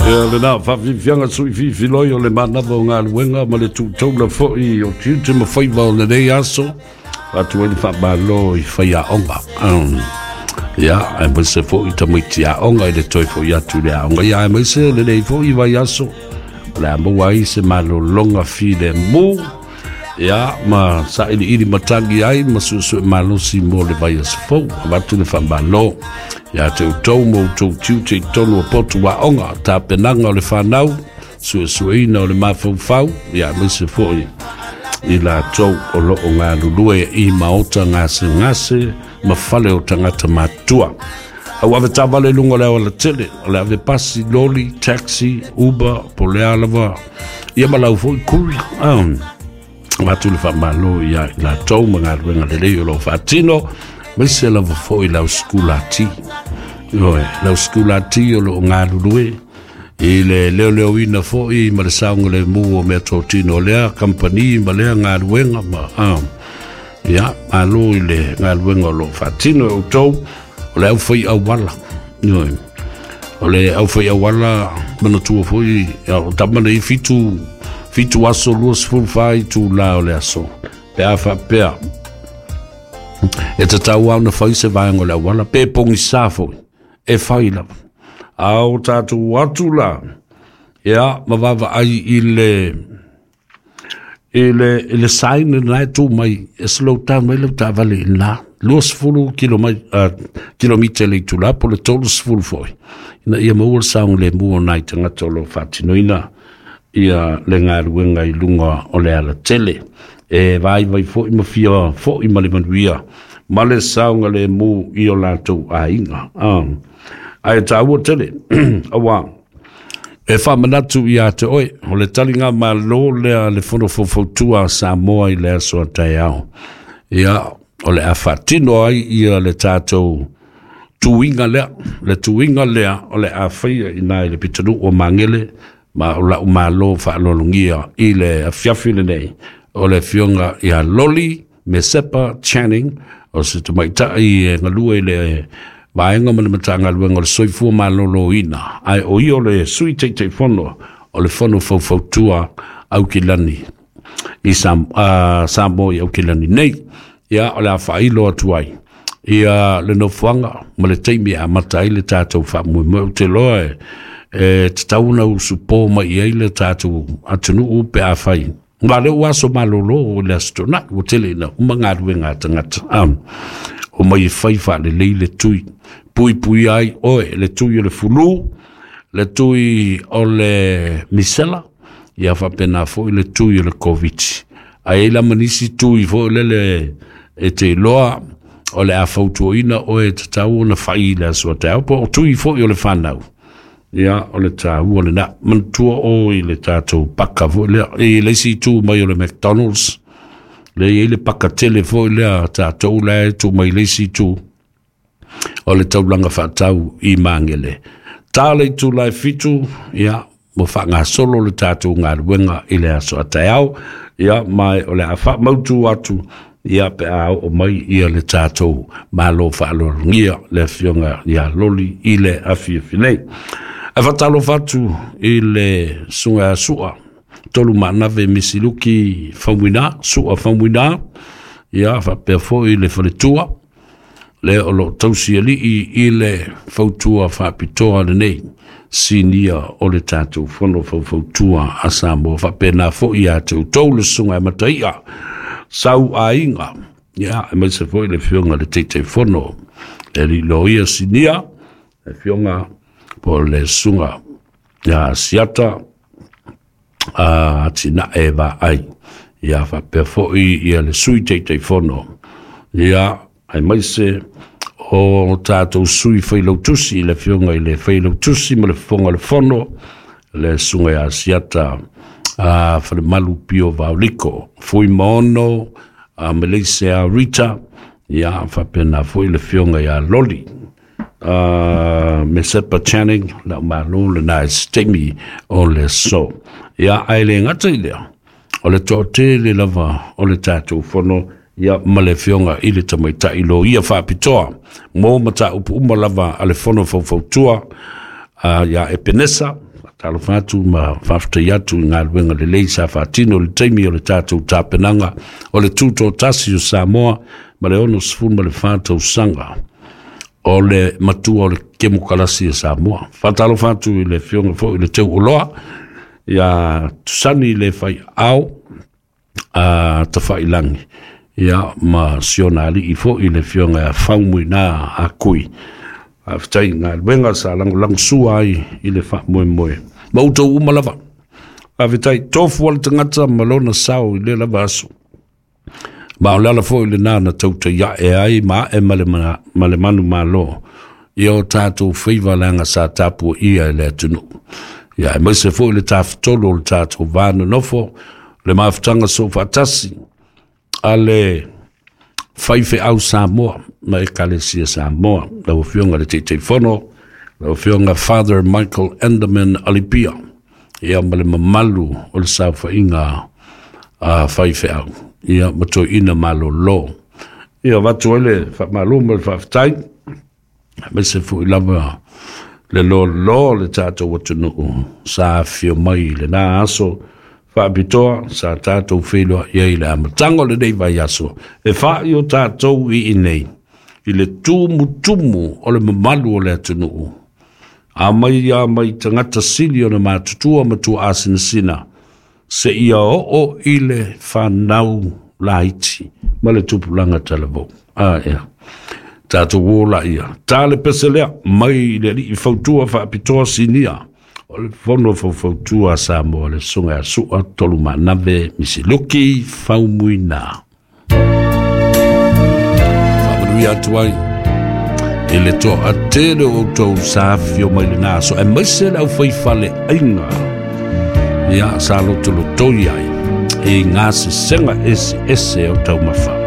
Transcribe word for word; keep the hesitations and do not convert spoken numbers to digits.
Ia lena faafiafiaga suʻifiifiloi o le manava o galuega ma le tuutaula foʻi o tiute ma faiva o lenei aso atu ai le faamālō i faiaoga. Ia aemaise foʻi tamaiti aoga i le toe foʻi atu i le aoga. Ia aemaise lenei foʻi vaiaso o le a maua ai se malologa filemu, ia ma saʻiliʻili matagi ai ma suʻesuʻe malosi mo le vaiaso fou. Avatu le faamālō ia te outou ma outou tiute i totonu o potu aoga, tapenaga o le fanau, suesueina o le mafaufau, ia aemaise foʻi i latou o loo galulue i maota gasegase ma fale o tagata matua. Au ave taavale luga o le aualatele, o le ave pasi, loli, taxi, Uber, po o le a lava, ia ma lau foʻi kuli. Avatu le faamālō ia i latou ma galuega lelei o loo faatino, maise lava foʻi lau sekulati oe, lau sekulati o loo galulue i le leoleoina foʻi ma le saogalemu o mea totino o lea kampani ma lea galuega ma ah. Ia malo i le galuega o loo faatino e outou o le aufai auala oe, o le aufai auala. Manatua foʻi o tama nei fitu fitu aso lua sefulu fa itulā o le aso pe a faapea e tatau au na fai se vaega o le auala pe pogisā foʻi e fai lava a o tatou atu la ia ma vaavaai i le i le i le sign na e tu mai e slow down mai lau taavale i lena luasefulu kilomai uh, kilomita le itulā po le tolu sefulu foʻi ina ia maua le saogalemu o nai tagata o loo faatinoina ia le galuega i luga o le alatele e vaivai foʻi ma fia foʻi ma le manuia ma le saogalemu i o latou aiga. Ah. Ae tāua tele auā e faamanatu iā te oe o le taliga mālō lea le Fono Faufautua a Samoa i le aso a taeao. Ia o le a faatino ai ia le tatou tuiga lea, le tuiga lea o le a faia i nā i le pitonuu o Magele ma o la'u mālō faalologia i le afiafi lenei o le afioga ia Loli Mesepa Channing o se tamaita'i e galue i le vaega ma le Matagaluega o le Soifua Maloloina, ae o ia o le Sui Taitaifono o le Fono Faufautua Aukilani i Sam, uh, Samoa i Aukilani nei. Ia o le a faailo atu ai ia le nofoaga ma le taimi e amata ai le tatou faamoemoe. Ou te loa e e tatau ona usupō mai i ai le tatou atunuu pe a fai ma le ua aso malōlō o le aso Tonaʻi ua tele ina uma galuega a tagata um, o mai e fai faalelei le tui puipui ai oe, le tui o le fulu, le tui o le misela, ia faapena foʻi le tui o le Koviti, ae ai la ma nisi tui foʻi lele e te iloa o le a fautuaina oe e tatau ona fai i le aso taeao po o tui foʻi o le fanau. Ia o le tāua lena manatua o i le tatou paka foʻi lea i le isi itu mai o le McDonald's le i ai le paka tele foʻi lea tatou la e tuu mai le isi itu o le taulaga faatau i Magele. Tā le itulā e fitu, ia ua faagasolo le tatou galuega i le aso a taeao, ia ma o le a faamautu atu ia pe a oo mai ia le tatou malo faaaloalogia le afioga ia Loli i le afiafi nei. Ae faatalofa atu i le susuga ia Su'a Tolu Maanave Misiluki Faumuina, Su'a Faumuina, ia faapea foʻi le faletua lea o loo tausi alii i le fautua faapitoa lenei sinia o le tatou Fono Faufautua a Samoa. Faapena foʻi ia te outou le susuga e Mataia Sau Aiga, ia aemaise foʻi le afioga le Taitaifono le alii loia sinia le afioga po o le susuga ia Siata a Atinae Vaai, ia faapea foʻi ia le Sui Taitaifono, ia aemaise o tatou sui failautusi i le afioga i le Failautusi ma le Fofoga o le Fono le susuga ia Asiata a Falemalu Pio Vaoliko Fuimaono a Malaysia Rita, ia faapena foʻi le afioga ia Loli uh, Mesepa Channing lau malo lena e se taimi o le aso. Ia ae le gata i lea o le toatele lava o le tatou fono, ia ma le afioga i le tamaitaʻi loia faapitoa mo mataupu uma lava a le Fono Faufautua uh, ia Epenesa. Talofa atu ma faafetai atu i galuega lelei sa faatino i le taimi o le tatou tapenaga o le tutoatasi o Samoa ma le ono sefulu ma le fa tausaga o le matua o le kemokalasi a Samoa. Faatalofa atu i le afioga foi i le Teuoloa ia Tusani le Faiao a Tafailagi, ia ma siona alii foi le afioga ia Faumuina Akui. Faafetai i galuega sa lagolagosua ai i le faamoemoe ma outou uma lava. Faafetai tofu o le tagata ma lona sao i le lava aso. Ma o le ala foi lenā na tautai ae ai ma ae ma le, ma le manumalo ia o tatou faiva leaga sa tapuaia e le atunuu. Ia aemaise foi le tafatolu o le tatou va nonofo, le mafutaga soofaatasi a le faifeau Samoa ma Ekalesia Samoa, lau Afioga i le Taitaifono, lau Afioga Father Michael Enderman Alipia, ia ma le mamalu o le saofaiga a faifeau, ia ma toeaina malolo. Ia avatu ai le faamalo ma le faafetai, aemaise foi lava le lolo o le tatou atunuu sa afifio mai i lena aso faapitoa sa tatou feiloai ai i le amataga o lenei vaiaso e fa'i o tatou i inei i le tumutumu o le mamalu o le atunuu. A mai a mai tagata sili ona matutua ma tuaasinasina seia oo i le fanau laiti ma le tupulaga talavou. A ea tatou o laia ta le pese lea mai i le alii fautua faapitoa sinia o le fono faufautua a Samoa, le susuga ia Sua Tolumanave Misiluki Faumuina. Faamanuia atu ai i le toatele o outou sa afifio mai lena aso, aemaise le aufaifaleaiga ia sa lotolotoi ai i gasesega eseese o taumafa.